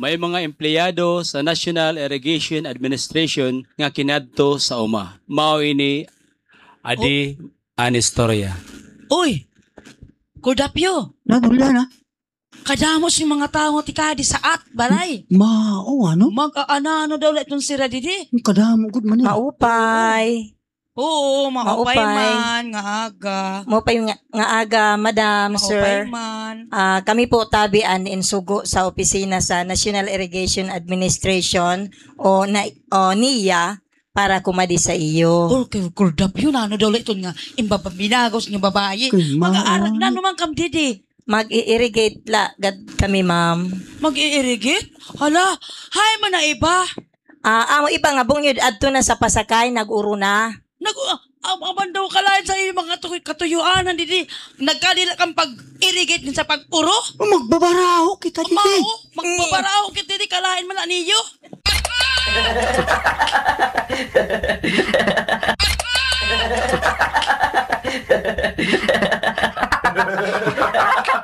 May mga empleyado sa National Irrigation Administration nga kinadto sa uma. Mao ini adi an istorya. Uy! Kordapyo! Nadulya na. Kadamos yung mga tao ti kadi sa at balay. Mao ano? Mag-aanano daw la itong sira didi. Ang kadamo gud man ni. Maupay. Oo, maupay Maupay. Man, nga aga. Maupay nga aga, madam, Maupay sir. Man. Ah, kami po tabi an insugo sa opisina sa National Irrigation Administration o na o NIA para kumadi sa iyo. Oh, kay Kordapyo na ano daw la itong nga imbababinagos nga babae. Kay mao, Mag-aarak na ano? naman kam didi. Mag-irrigate la gad kami, ma'am. Mag-i-irrigate? Hala, hay man na iba. Ah, amo iba nga bungyod adto na sa pasakay nag-uro na. Nag aman daw kalain sa iyong mga katuyuanan didi. Nagkalila kang pag-irrigate din sa pag-uro. Oh, magbabaraho kita didi. Mao, magbabaraw kita didi kalain man na niyo.